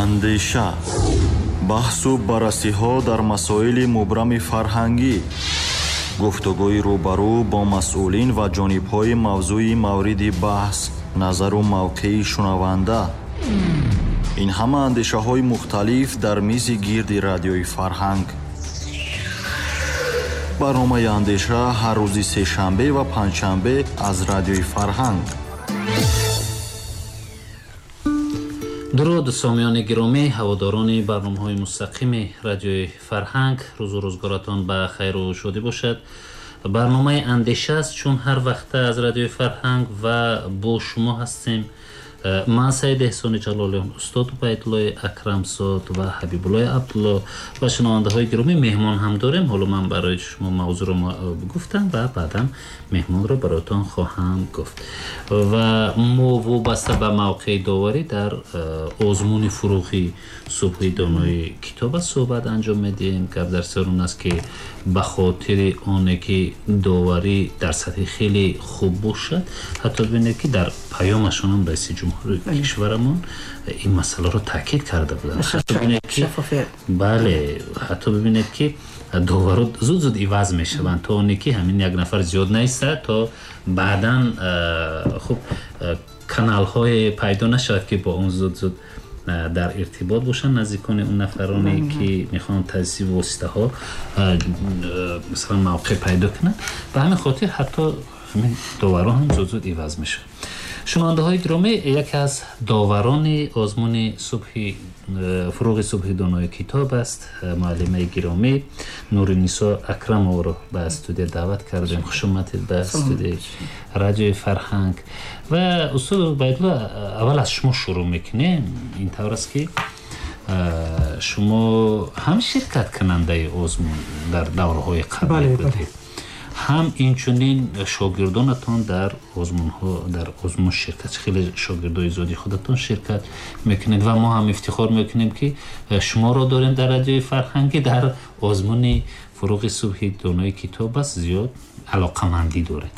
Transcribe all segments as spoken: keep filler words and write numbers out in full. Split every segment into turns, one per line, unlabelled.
Андеша, баҳсу баррасиҳо дар масоили мубрами фарҳангӣ, гуфтугӯи рӯбарӯ бо масъулин ва ҷонибҳои мавзӯи мавриди баҳс, назару мавқеи шунаванда. Ин ҳама андешаҳои мухталиф дар мизи гирди радиои Фарҳанг. Барномаи Андеша ҳар рӯзи сешанбе ва панҷшанбе аз радиои Фарҳанг.
Дуруд сомиёни гиромӣ, ҳаводорони барномаҳои мустақими радиои Фарҳанг, рӯзу рӯзгоратон ба хайру шодӣ бошад. Барномаи Андеша аст, чун ҳар вақта аз радиои Фарҳанг ва бо шумо ҳастем. Ман Саид Эҳсони Ҷалолиён, устод Убайдуллои Акрамзод ва Ҳабибуллои Абдулло ва шунавандаҳои гиромӣ меҳмон ҳам дорем. Ҳоло ман барои шумо мавзӯъро гуфтам ва баъдан меҳмонро бароятон хоҳам гуфт. Ва мо вобаста ба мавқеи доварӣ дар озмуни фурӯғи субҳи донои китоб аст суҳбат анҷом медиҳем. Гап дар сар он аст, ки ба хотири оне ки доварӣ дар сатҳи хеле хуб бошад, ҳатто бибинед, ки дар паёмашон ҳам раиси ҷумҳури кишварамон ин масъаларо таъкид карда буданд. Бале, ҳатто бибинед, ки доваро зуд зуд иваз мешаванд, то оне ки ҳамин як нафар зиёд наистад, то баъдан хуб каналҳое пайдо нашавад, ки бо он зуд зуд дар иртибот бошанд наздикони он нафароне, ки мехоҳанд таъсиси воситаҳо масалан мавқеъ пайдо кунанд. Ба ҳамин хотир ҳатто ҳамин доваро ҳам зуд зуд иваз мешаванд. Шунавандаҳои гиромӣ, яке аз доварони озмуни субҳи фурӯғи субҳи донои китоб аст, муаллимаи гиромӣ Нуринисо Акрамовро ба студия даъват кардем. Хуш омадед ба студияи радиои Фарҳанг. Ва устод Убайдулло, аввал аз шумо шурӯъ мекунем. Ин тавр аст, ки шумо ҳам ширкаткунандаи озмун дар давраҳои қаблӣ будед, ҳам инчунин шогирдонатон дар озмунҳо, дар озмун ширкат, хеле шогирдои зиёди худатон ширкат мекунед ва мо ҳам ифтихор мекунем, ки шуморо дорем дар радиои Фарҳангӣ дар озмуни фурӯғи субҳи донои китоб аст зиёд алоқамандӣ доред.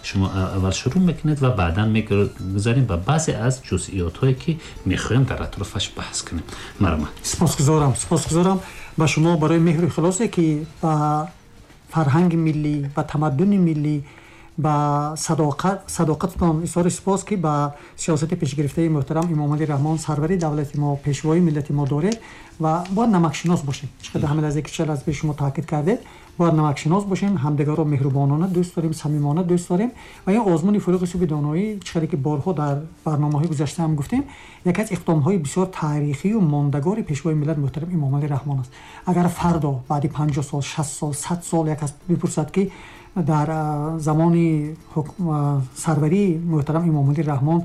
Шумо аввал шурӯъ мекунед ва баъдан мегузарем ба баъзе аз ҷузъиётҳое, ки мехоҳем дар атрофаш баҳс кунем. Марҳамат.
Сипосгузорам, сипосгузорам ба шумо барои меҳру ихлосе, ки ба фарҳанги миллӣ, ба тамаддуни миллӣ, ба садоқататон изҳори сипос, ки ба сиёсати пешгирифтаи муҳтарам Эмомалӣ Раҳмон, сарвари давлати мо, пешвои миллати мо доред. Ва бояд намакшинос бошем. Чӣ қадар ҳамин лаҳзе, ки чанд аз пеш шумо таъкид кардед, бояд намакшинос бошем, ҳамдигарро меҳрубонона дӯст дорем, самимона дӯст дорем. Ва ин озмуни фурӯғи субҳи доноӣ, чӣ қадар ки борҳо дар барномаҳои гузашта ҳам гуфтем, яке аз иқдомҳои бисёр таърихию мондагори пешвои миллат муҳтарам Эмомалӣ Раҳмон аст. Агар фардо баъди панҷоҳ сол, шаст сол, сад сол як кас бипурсад, ки дар замони сарварии муҳтарам Эмомалӣ Раҳмон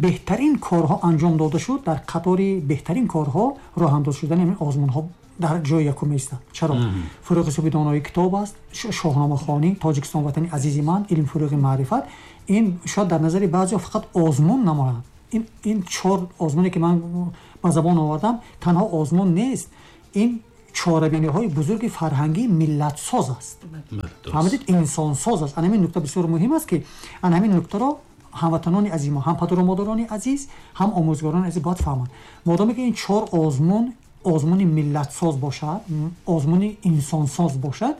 беҳтарин корҳо анҷом дода шуд, дар қатори беҳтарин корҳо роҳандоз шудани ҳамин озмунҳо дар ҷои якум меистад. Чаро? Фурӯғи субҳи донои китоб аст, шоҳномахонӣ, Тоҷикистон ватани азизи ман, илм фурӯғи маърифат. Ин шояд дар назари баъзеҳо фақат озмун намояд. Ин, ин чор озмуне, ки ман ба забон овардам, танҳо озмун нест, ин чорабиниҳои бузурги фарҳангии миллатсоз аст. Фаҳмидед, инсонсоз аст. Ана ҳамин нукта бисёр муҳим аст, ки ана ҳамин нуктаро ҳамватанони азиз мо, ҳам падару модарони азиз, ҳам омӯзгорони азиз бояд фаҳманд. Модоме ки ин чор озмун озмуни миллатсоз бошад, озмуни инсонсоз бошад,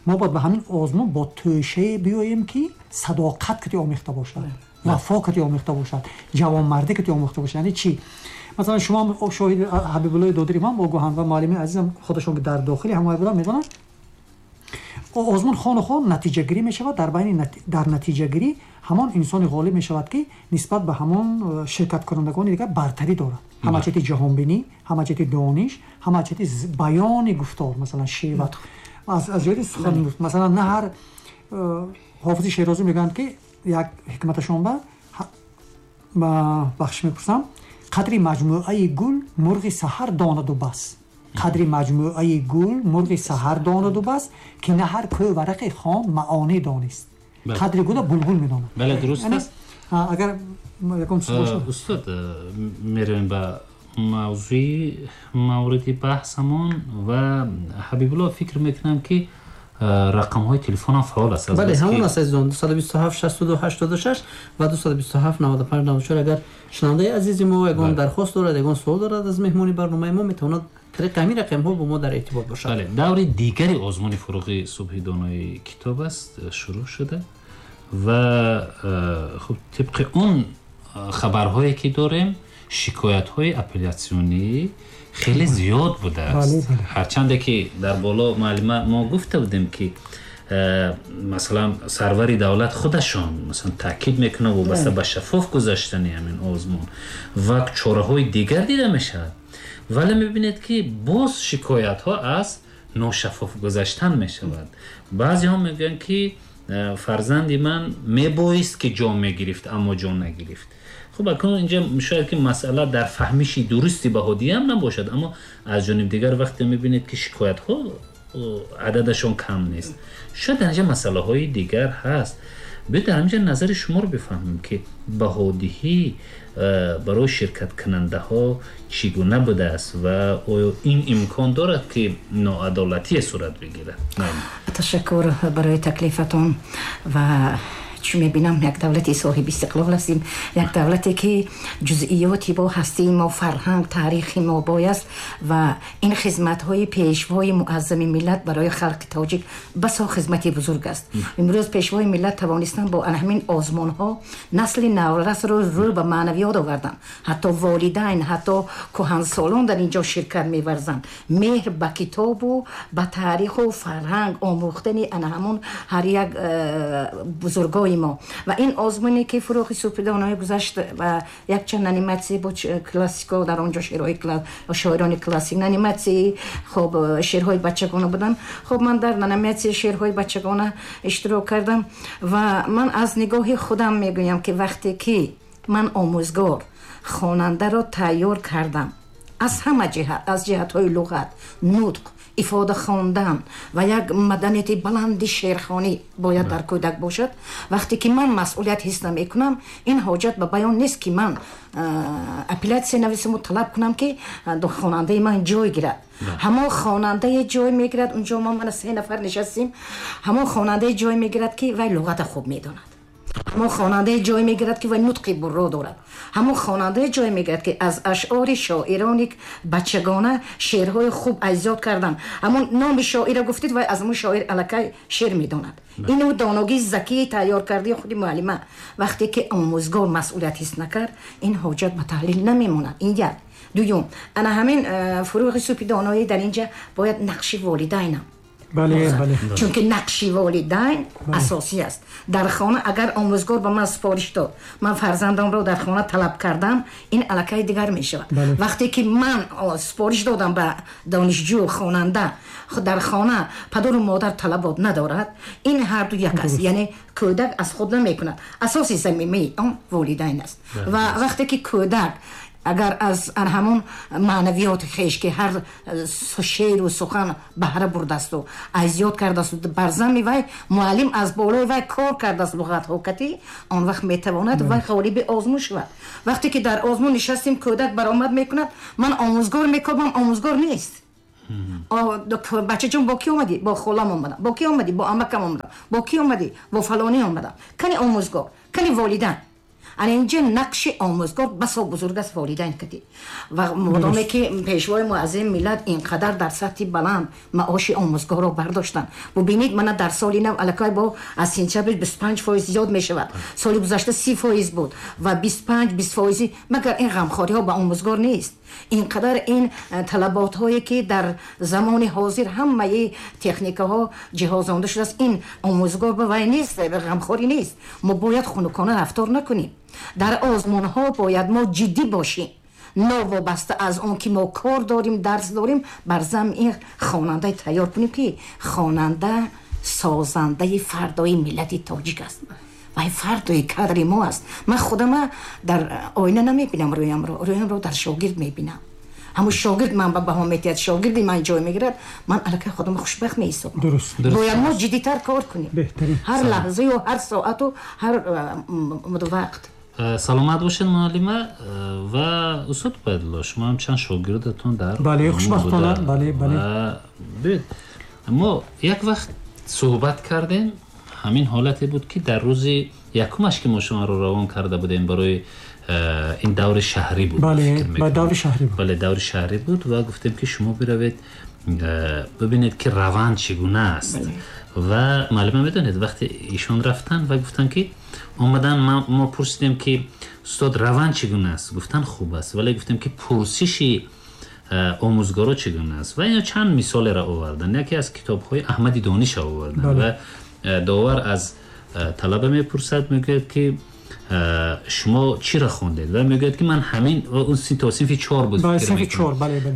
мо бояд ба ҳамин озмун бо тӯшае биёем, ки садоқат кати омехта бошад, вафо кати омехта бошад, ҷавонмардӣ кати омехта бошад. Яъне чӣ? Масалан, шумо шоҳид Ҳабибуллои Додири ман огоҳанд ва муаллими азизам худашон, ки дар дохили ҳамоя буданд, медонанд, озмун хону хон натиҷагирӣ мешавад. Дар байни дар натиҷагирӣ ҳамон инсони ғолиб мешавад, ки нисбат ба ҳамон ширкаткунандагони дигар бартарӣ дорад, ҳама ҷиҳати ҷаҳонбинӣ, ҳама ҷиҳати дониш, ҳама ҷиҳати баёни гуфтор, масалан шева, аз ҷиҳати сухан. Масалан, на ҳар ҳофизи Шерозӣ мегӯянд, ки як ҳикматашон ба бахшиш мепурсам, қадри маҷмӯаи гул мурғи саҳар донаду бас, қадри маҷмӯаи гул мурғи саҳар донаду бас, ки на ҳар кӯ варақи хон маъонӣ донист. Қадри гула булбул медонад.
Бале, дуруст аст.
Агар ягон чиз бошад.
Устод, меравем ба мавзӯи мавриди баҳсамон ва Ҳабибулло, фикр мекунам, ки Рақамҳои телефон ҳам фаъол аст.
Бале, ҳамон аст азизон, дусаду бисту ҳафт шасту ду ҳаштоду шаш ва дусаду бисту ҳафт наваду панҷ наваду чор. Агар шунавандаи азизи мо ягон дархост дорад, ягон суол дорад аз меҳмони барномаи мо, метавонад тариқи ҳамин рақамҳо бо мо дар иртибот бошад.
Бале, даври дигари озмуни фуруғи субҳи донои китоб аст, шурӯъ шуда ва хуб, тибқи он хабарҳое ки дорем, шикоятҳои апелляционӣ хеле зиёд будааст. Ҳарчанде ки дар боло муаллима мо гуфта будем ки масалан сарвари давлат худашон масалан таъкид мекунад вобаста ба шаффоф гузаштани ҳамин озмун ва чораҳои дигар дида мешавад, вале мебинед ки боз шикоятҳо аз ношаффоф гузаштан мешавад. Баъзеҳо мегӯянд ки фарзанди ман мебоист ки ҷон мегирифт, аммо ҷон нагирифт. Хуб, акнун инҷа шояд ки масъала дар фаҳмиши дурусти баҳодиҳӣ ҳам набошад, аммо аз ҷониби дигар вақте мебинед ки шикоятҳо ададашон кам нест, шояд дар инҷа масъалаҳои дигар ҳаст. Биёед дар инҷа назари шуморо бифаҳмем ки баҳодиҳӣ барои ширкаткунандаҳо чӣ гуна будааст ва оё ин имкон дорад ки ноадолатие сурат бигирад?
Ташаккур барои таклифатон. Ва чун мебинам як давлати соҳиби истиқлол ҳастем, як давлате ки ҷузъиёти бо ҳастии мо, фарҳанг, таърихи мо бояст ва ин хизматҳои пешвои муаззами миллат барои халқи тоҷик басо хизмати бузург аст. Имрӯз пешвои миллат тавонистанд бо ҳамин озмунҳо насли наврасро рӯ ба маънавиёт оварданд. Ҳатто волидайн, ҳатто кӯҳансолон дар ин ҷо ширкат меварзанд. Меҳр ба китобу ба таъриху фарҳанг омӯхтани ана ҳамон ҳар як бузургои мо. Ва ин озмуне ки фуруғи субҳи доноӣ гузашт ва якчанд аниматсия бо классико дар он ҷо шеърҳои шоирони классик, аниматсияи хоб шеърҳои бачагона буданд. Хоб ман дар аниматсияи шеърҳои бачагона иштирок кардам ва ман аз нигоҳи худам мегӯям ки вақте ки ман омӯзгор хонандаро тайёр кардам аз ҳама ҷиҳат, аз ҷиҳатҳои луғат, нутқ, ифода хондан ва як маданияти баланди шеърхонӣ бояд дар кӯдак бошад. Вақте ки ман масъулият ҳис намекунам, ин ҳоҷат ба баён нест ки ман апелляция нависаму талаб кунам ки хонандаи ман ҷой гирад. Ҳамон хонандае ҷой мегирад, унҷо мо мана се нафар нишастем, ҳамон хонандае ҷой мегирад ки вай луғата хуб медонад, ҳамон хонандае ҷой мегирад ки вай нутқи бурро дорад, ҳамон хонандае ҷой мегирад ки аз ашъори шоирони бачагона шеърҳои хуб айзёд кардан. Ҳамон номи шоира гуфтид, вай аз ҳамон шоир аллакай шеър медонад. Ину доногии закии тайёр кардаи худи муаллима. Вақте ки омӯзгор масъулият ҳис накард, ин ҳоҷат ба таҳлил намемонад. Ин як. Дуюм, ана ҳамин фуруғи субҳи доноӣ дар инҷа бояд нақши волидайнам.
Бале, бале.
Чунки нақши волидайн асосӣ аст. Дар хона агар омӯзгор ба ман супориш дод, ман фарзандамро дар хона талаб кардам, ин аллакай дигар мешавад. Вақте ки ман супориш додам ба донишҷӯ, хонанда, дар хона падару модар талабот надорад, ин ҳарду як аст. Яъне кӯдак аз худ намекунад. Асоси замимаи он волидайн аст. Ва вақте ки кӯдак агар аз ҳамон маънавиёти хеш ки ҳар шеъру сухан баҳра бурдасту азёд кардасту бар зами вай муаллим аз болои вай кор кардааст луғатҳо кати, он вақт метавонад вай ғолиби озмун шавад. Вақте ки дар озмун нишастем, кӯдак баромад мекунад, ман омӯзгор мекобам, омӯзгор нест. Бачаҷон, бо кӣ омадӣ? Бо холам омадам. Бо кӣ омадӣ? Бо амакам омадам. Бо кӣ омадӣ? Бо фалонӣ омадам. Кани омӯзгор, кани волидайн. Ана инҷа нақши омӯзгор басо бузург аст волидайн кати. Ва модоме ки пешвои муаззами миллат инқадар дар сатҳи баланд маоши омӯзгорро бардоштанд. Бубинед, мана дар соли нав аллакай бо аз сентябр бисту панҷ фоиз зиёд мешавад. Соли гузашта си фоиз буд ва бисту панҷ бист фоизи. Магар ин ғамхориҳо ба омӯзгор нест? Инқадар ин талаботҳое ки дар замони ҳозир ҳамаи техникаҳо ҷиҳозонда шудааст, ин омӯзгор ба вай нест, ғамхорӣ нест. Мо бояд хунукона рафтор накунем. Дар озмунҳо бояд мо ҷиддӣ бошем, новобаста аз он ки мо кор дорем, дарс дорем, бар зам ин хонандаи тайёр кунем ки хонанда созандаи фардои миллати тоҷик аст. Вай фардои кадри мо аст. Ман худама дар оина намебинам, рӯямро, рӯямро дар шогирд мебинам. Ҳамон шогирд ман ба баҳо метиҳад, шогирди ман ҷой мегирад, ман аллакай худамро хушбахт меҳисобам. Бояд мо ҷиддитар кор кунем, ҳар лаҳзаю ҳар соату ҳар вақт.
Саломат бошед муаллима. Ва устод Убайдулло, шумо ҳам чанд шогирдатон дар
бале, хушбахтона, бале, бале.
Биёед, мо як вақт Суҳбат кардем, ҳамин ҳолате буд ки дар рӯзи якумаш ки мо шуморо равон карда будем барои ин даври шаҳрӣ буд.
Бале, даври шаҳрӣ буд.
Бале, даври шаҳрӣ буд ва гуфтем ки шумо биравед бибинед ки раванд чӣ гуна аст. Ва муаллима медонед вақте ишон рафтанд ва гуфтанд ки омадан, мо пурсидем ки устод раванд чӣ гуна аст, гуфтанд хуб аст, вале гуфтем ки пурсиши омӯзгоро чӣ гуна аст ва ино чанд мисолеро оварданд. Яке аз китобҳои Аҳмади Дониша оварданд ва довар аз талаба мепурсад, мегӯяд ки шумо чиро хондед ва мегӯяд ки ман ҳамин он то синфи чор буд,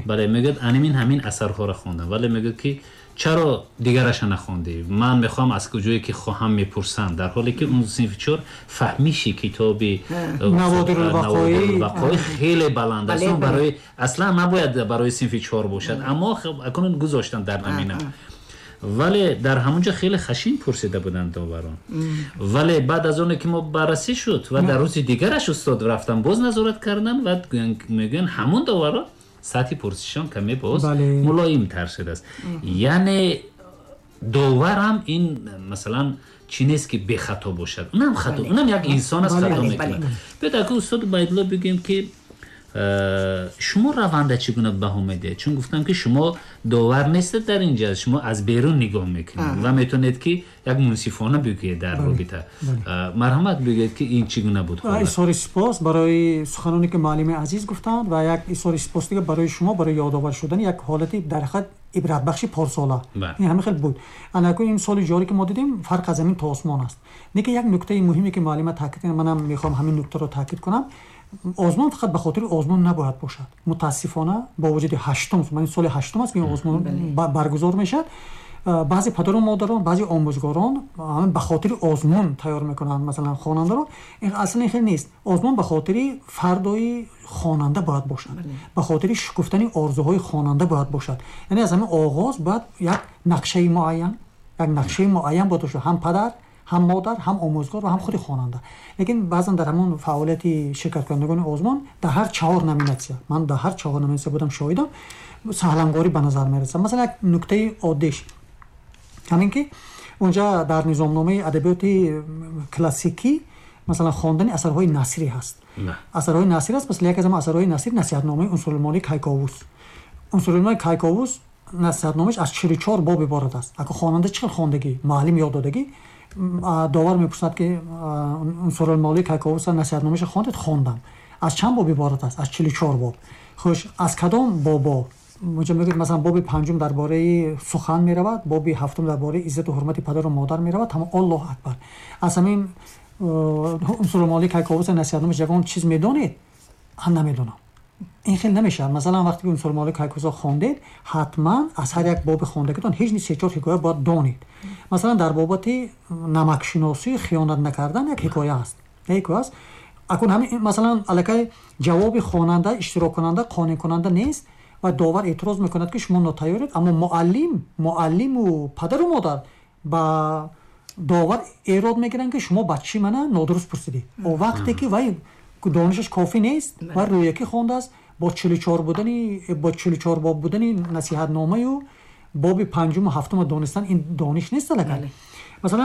бале, мегӯяд анамин ҳамин асарҳоро хондам, вале мегӯяд ки чаро дигараша нахондӣ, ман мехоҳам аз куҷое ки хоҳам мепурсам, дар ҳоле ки он синфи чор фаҳмиши китоби Наводирулвақоӣ хеле баланд аст, он барои аслан набояд барои синфи чор бошад, аммо акнун гузоштанд дар намина. Вале дар ҳамонҷо хеле хашин пурсида буданд доварон. Вале баъд аз оне ки мо баррасӣ шуд ва дар рӯзи дигараш устод рафтам боз назорат кардам ва мегӯянд ҳамон доварон сатҳи пурсишон каме боз мулоимтар шудааст. Яъне доварам ин масалан чӣ нест ки бехато бошад, унам хато, унам як инсон аст, хато мекунад. Биёед ака устод Убайдулло бигӯем ки шумо раванда чӣ гуна баҳо медиҳед? Чун гуфтам ки шумо довар нестед дар инҷа, шумо аз берун нигоҳ мекунед ва метавонед ки як мунсифона бигӯед дар робита. Марҳамат бигӯед ки ин чӣ гуна буд?
Изҳори сипос барои суханоне ки муаллими азиз гуфтанд ва як изҳори сипос дига барои шумо барои ёдовар шудани як ҳолати дар ҳақиқат ибратбахши порсола. Ин ҳамин хел буд. Анакун ин соли ҷорӣ ки мо дидем фарқ аз замин то осмон аст. Лекин як нуктаи муҳиме ки муаллима таъкид кард, манам мехоҳам ҳамин нуктаро таъкид кунам, озмун фақат ба хотири озмун набояд бошад. Мутаассифона бо вуҷуди ҳаштум, ман соли ҳаштум аст ки ин озмун баргузор мешавад, баъзе падару модарон, баъзе омӯзгорон ба хотири озмун тайёр мекунанд масалан хонандаро. Ин аслан хел нест. Озмун ба хотири фардои хонанда бояд бошад, ба хотири шукуфтани орзуҳои хонанда бояд бошад. Яъне аз ҳамин оғоз бояд як нақшаи муайян, як нақшаи муайян бояд бошад, ҳам падар, ҳам модар, ҳам омӯзгор ва ҳам худи хонанда. Лекин баъзан дар ҳамон фаъолияти ширкаткунандагони озмун дар ҳар чаҳор номинатсия, ман дар ҳар чаҳор номинатсия будам шоҳидам, саҳлангорӣ ба назар мерасад. Масалан як нуктаи оддиш ҳамин ки унҷа дар низомномаи адабиёти классикӣ масалан хондани асарҳои насрӣ ҳаст. Асарҳои насрӣ аст, масалан яке аз асарҳои насрӣ насиҳатномаи Унсурулмолии Кайковус. Унсурулмолии Кайковус насиҳатномааш аз чилу чор боб иборат аст. Ака хонанда чӣ хел хондагӣ, муаллим ёд додагӣ, довар мепурсад ки Унсурулмолии Кайковус насиҳатномаашро хондед? Хондам. Аз чанд боб иборат аст? Аз чилу чор боб. Хуш, аз кадом бобо? Мунҷа мегӯяд масалан боби панҷум дар бораи сухан меравад, боби ҳафтум дар бораи иззату ҳурмати падару модар меравад. Ҳама Аллоҳ акбар. Аз ҳамин Унсурулмолии Кайковус насиҳатномааш ягон чиз медонед? Ҳам намедонам. Ин хел намешавад. Масалан вақте ки Унсурулмолии Кайковусро хондед, ҳатман аз ҳар як боби хондагитон ҳеҷ ни се чор ҳикоя бояд донед. Масалан дар бобати намакшиносӣ хиёнат накардан як ҳикоя аст. Як ҳикоя аст. Акун ҳамин масалан аллакай ҷавоби хонанда, иштироккунанда қонеъкунанда нест ва довар эътироз мекунад ки шумо нотайёред, аммо муаллим, муаллиму падару модар ба довар эрод мегиранд ки шумо бачаи мана нодуруст пурсидед. О вақте ки вай донишаш кофӣ нест ва рӯякӣ хондааст, бо чилу чор будани, бо чилу чор боб будани насиҳатномаю боби панҷуму ҳафтумро донистан ин дониш нест аллакай.